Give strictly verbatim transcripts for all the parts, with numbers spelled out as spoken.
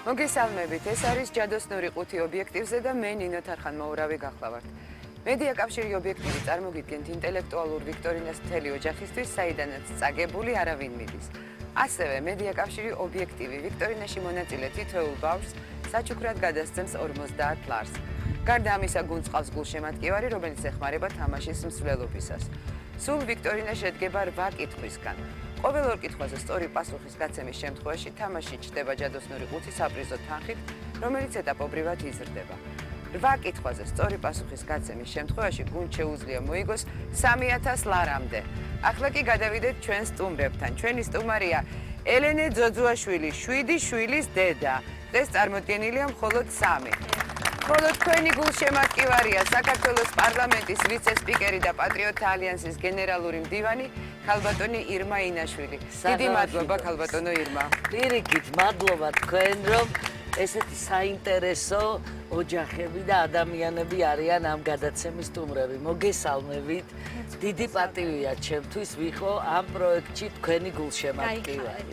მოგესალმებით, ეს არის ჯადოსნური ყუთი ობიექტივზე და მე ნინო თარხან-მოურავი გახლავართ. მედია კავშირი ობიექტივი წარმოგიდგენთ ინტელექტუალურ ვიქტორინას მთელი ოჯახისთვის, საიდანაც წაგებული არავინ მიდის. ასევე მედია კავშირი ობიექტივი ვიქტორინაში მონაწილე თითოეულ ბავშვს საჩუქრად გადასცემს ორმოცდაათ ლარს. გარდა ამისა გუნდს ყავს გულშემატკივარი, რომელიც ეხმარება თამაშის მსვლელობისას. სულ ვიქტორინა შედგება რვა კითხვისგან. ყოველ ორ კითხვაზე სწორი პასუხის გაცემის შემთხვევაში თამაში ჩდება ჯადოსნური ყუთი საპრიზო თანხით, რომელიც ეტაპობრივად იზრდება. რვა კითხვაზე სწორი პასუხის გაცემის შემთხვევაში გუნდს შეუძლია მოიგოს სამი ათას ლარამდე. ახლა კი გადავიდეთ ჩვენ სტუმრებთან. ჩვენი სტუმარია ელენე ძოძუაშვილი, შვიდი შვილის დედა. დღეს წარმოდგენილია მხოლოდ სამი. ხოლო თქვენი გულშემატკივარია საქართველოს პარლამენტის ვიცე-სპიკერი და პატრიოტთა ალიანსის გენერალური მდივანი ქალბატონი ირმა ინაშვილი. დიდი მადლობა ქალბატონო ირმა. პირიქით მადლობა თქვენ, რომ ესეთი საინტერესო ოჯახები და ადამიანები არიან ამ გადაცემის სტუმრები. მოგესალმებით. დიდი პატივია ჩემთვის ვიყო ამ პროექტში თქვენი გულშემატკივარი.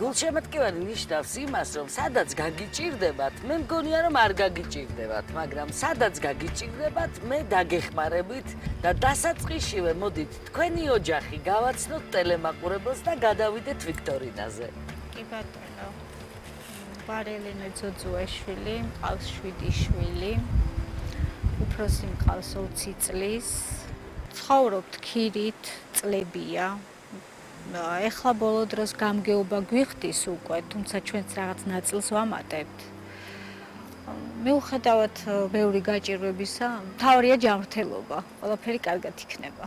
გულშემატკივარი ნიშნავს იმას, რომ სადაც გაგიჭირდებათ, მე მგონია რომ არ გაგიჭირდებათ, მაგრამ სადაც გაგიჭირდებათ, მე დაგეხმარებით და დასაწყისშივე მოდით თქვენი ოჯახი გავაცნოთ ტელემაყურებელს და გადავიდეთ ვიქტორინაზე. კი ბატონო. ვარ ელენე ძოძუაშვილი, მყავს შვიდი შვილი. უფროსი მყავს ოცი წლის. ცხოვრობთ ქირით, წლებია. ეხლა ბოლო დროს გამგეობა გვიხდის უკვე, თუმცა ჩვენც რაღაც ნაწილს ვამატებთ. მიუხედავად ბევრი გაჭირვებისა, მთავარია ჯანმრთელობა, ყველაფერი კარგად იქნება.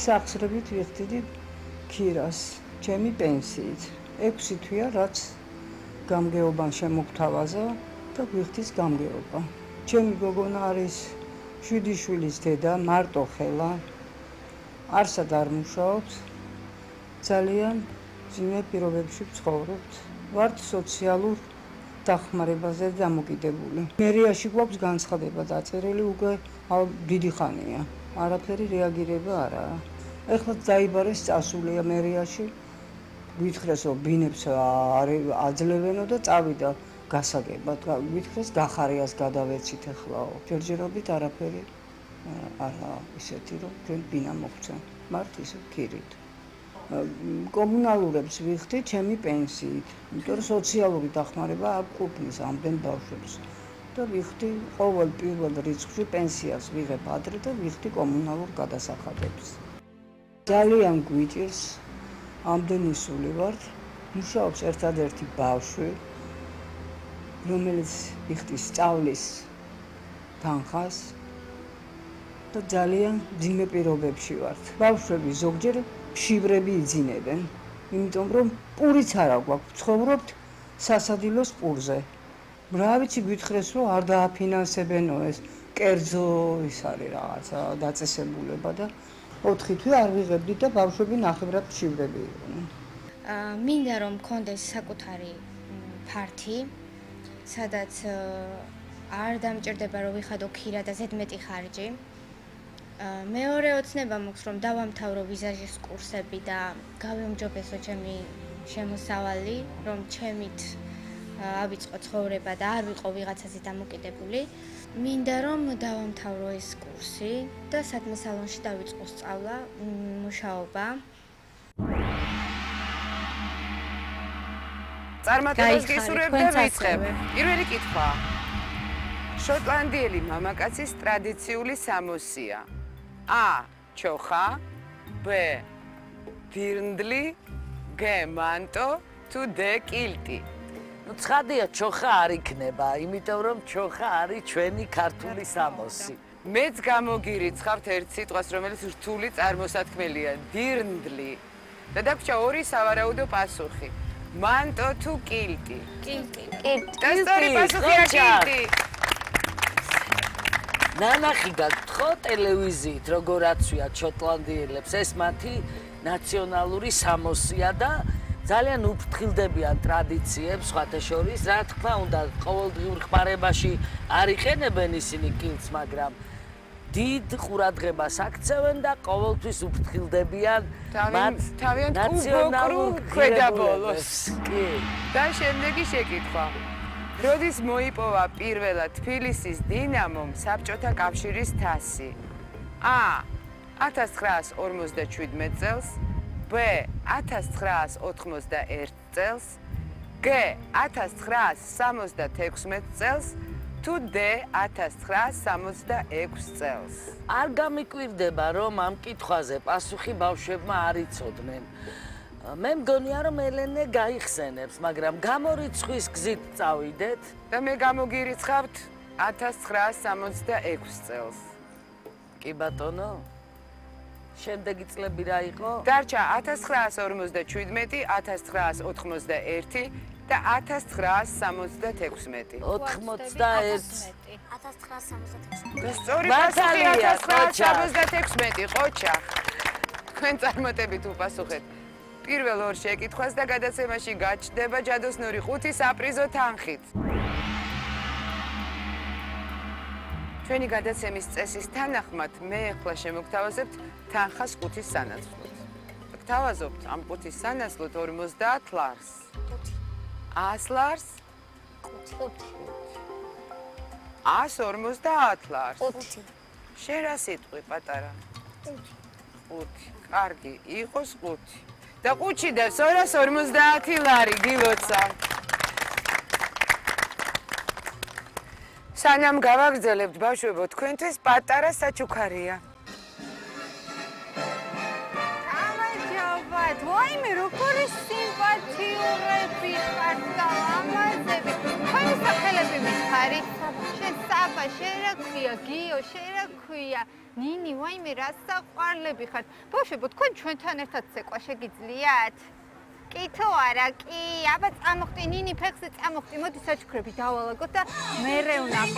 სახსრებით ვიხდიდი ქირას, ჩემი პენსიით. ექვსი თვეა, რაც გამგეობამ შემოგთავაზა და ვიხდის გამგეობა. ჩემი გოგონა არის შვიდი შვილის დედა, მარტო ხელა. არსად არ მუშაობთ, ძალიან ძიმე პირობებში ვცხოვრობთ. ვართ სოციალურ დახმარებაზე დამოკიდებული. მერიაში გვაქვს განცხადება დაწერილი უკვე დიდი ხანია. არაფერი რეაგირება არაა. ეხლა დაიბარეს წასულია მერიაში. გვითხრეს რომ ბინებს აძლევენო და წავიდა გასაგებად. გვითხრეს გახარიას გადავეცით ეხლაო. ჯერჯერობით არაფერი არა ისეთი რომ ჩვენ ბინა მოგცემ. მართ ისე ქირით. კომუნალურებს ვიხდი ჩემი პენსიით. იმიტომ რომ სოციალური დახმარება არ ყოფნის ამდენ ბავშვებს. და ვიხდი ყოველ პირველ რიცხვში პენსიას ვიღებ ადრე და ვიხდი კომუნალურ გადასახადებს. ძალიან გვიჭირს ამდენი სული ვართ. მუშაობს ერთადერთი ბავშვი, რომელიც იხდის სწავლის თანხას და ძალიან ძიმე პირობებში ვართ. ბავშვები ზოგჯერ მშივრები იძინებენ, იმიტომ რომ პურიც არა გვაქვს, ცხოვრობთ სასადილოს პურზე. რა ვიცი გვითხრეს რომ არ დააფინანსებენო ეს კერძო ის არის რაღაცა დაწესებულება და ოთხი თვე არ ვიღებდი და ბავშვები ნახევრად მშივრები იყვნენ. მინდა რომ მქონდეს საკუთარი ფართი, სადაც არ დამჭირდება რომ ვიხადო ქირა და ზედმეტი ხარჯი. მეორე ოცნება მაქვს რომ დავამთავრო ვიზაჟის კურსები და გავემჯობესო ჩემი შემოსავალი, რომ ჩემით ავიწყო ცხოვრება და არ ვიყო ვიღაცაზე დამოკიდებული. მინდა რომ დავამთავრო ეს კურსი და სადმე სალონში დავიწყო სწავლა, მუშაობა. წარმატებას გისურვებ და ვიწყებ. პირველი კითხვა. შოტლანდიელი მამაკაცის ტრადიციული სამოსია. A. ჩოხა, B. დირნდლი, G. მანტო, თუ D. კილტი. ნუ ცხადია ჩოხა არ იქნება, იმიტომ რომ ჩოხა არის ჩვენი ქართული სამოსი. მეც გამოგირიცხავთ ერთ სიტყვას, რომელიც რთული წარმოსათქმელია, დირნდლი. და დაგვრჩა ორი სავარაუდო პასუხი. მანტო თუ კილტი? კილტი. და სწორი პასუხია კილტი. ნანახი გაგთხო ტელევიზიით, როგორ აცვიათ შოტლანდიელებს, ეს მათი ნაციონალური სამოსია და ძალიან უფრთხილდებიან ტრადიციებს, სხვათა შორის, რა თქმა უნდა, ყოველდღიურ ხმარებაში არ იყენებენ ისინი კილტს, მაგრამ დიდ ყურადღებას აქცევენ და ყოველთვის უფრთხილდებიან მათ თავიანთ ნაციონალურ უბოკრულ ქვედაბოლოს. კი. და შემდეგი შეკითხვა. როდის მოიპოვა პირველად თბილისის დინამომ საბჭოთა კავშირის თასი? A. ათას ცხრაას ორმოცდაშვიდმეტ წელს, B. ათას ცხრაას ოთხმოცდაერთ წელს, G. ათას ცხრაას სამოცდათექვსმეტ წელს, თუ D. ათას ცხრაას სამოცდაექვსი წელს. არ გამიკვირდება, რომ ამ კითხვაზე პასუხი ბავშვებმა არ იცოდნენ. მე მგონია, რომ ელენე გაიხსენებს, მაგრამ გამორიცხვის გზით წავიდეთ. და მე გამოგირიცხავთ ათას ცხრაას სამოცდაექვსი წელს. კი ბატონო? შემდეგი წლები რა იყო? დარჩა ათას ცხრაას ორმოცდაშვიდმეტი, ათას ცხრაას ოთხმოცდაერთი და ათას ცხრაას სამოცდათექვსმეტი. ოთხმოცდაერთი. ათას ცხრაას სამოცდათექვსმეტი. და სწორი მართალია, პასუხი ათას ცხრაას ყოჩა. სამოცდათექვსმეტი, ყოჩა. თქვენ წარმატებით უპასუხეთ. პირველ ორ შეკითხვას და გადაცემაში გაჩნდება ჯადოსნური ხუთი საპრიზო თანხით. ჩვენი გადაცემის წესის თანახმად მე ახლა შემოგთავაზებთ თანხას ხუთის სანაცვლოდ. გთავაზობთ ამ ხუთის სანაცვლოდ ორმოცდაათ ლარს. ას ლარს? ას ორმოცდაათ ლარს. შენ რა სიტყვი პატარა? ხუთი. კარგი, იყოს ხუთი. და ხუთში და სორას ორმოცდაათი ლარი გილოცა. სანამ გავაგრძელებთ ბავშვებო, თქვენთვის პატარა საჩუქარია. გამარჯობათ. ვაიმე, როგორი სიმპათიურები ხართ და ლამაზები. თქვენი სახელები მითხარით? შენ საბა, შენ რა ქვია? გიო, შენ რა ქვია? ნინი, ვაიმე, რა საყვარლები ხართ. ბავშვებო, თქვენ ჩვენთან ერთად ცეკვა შეგიძლიათ? კი თუ არა, კი, აბა წამოხტი, ნინი ფეხზე წამოხტი, მოდი საჩუქრები დავალაგოთ და მერე ვნახოთ.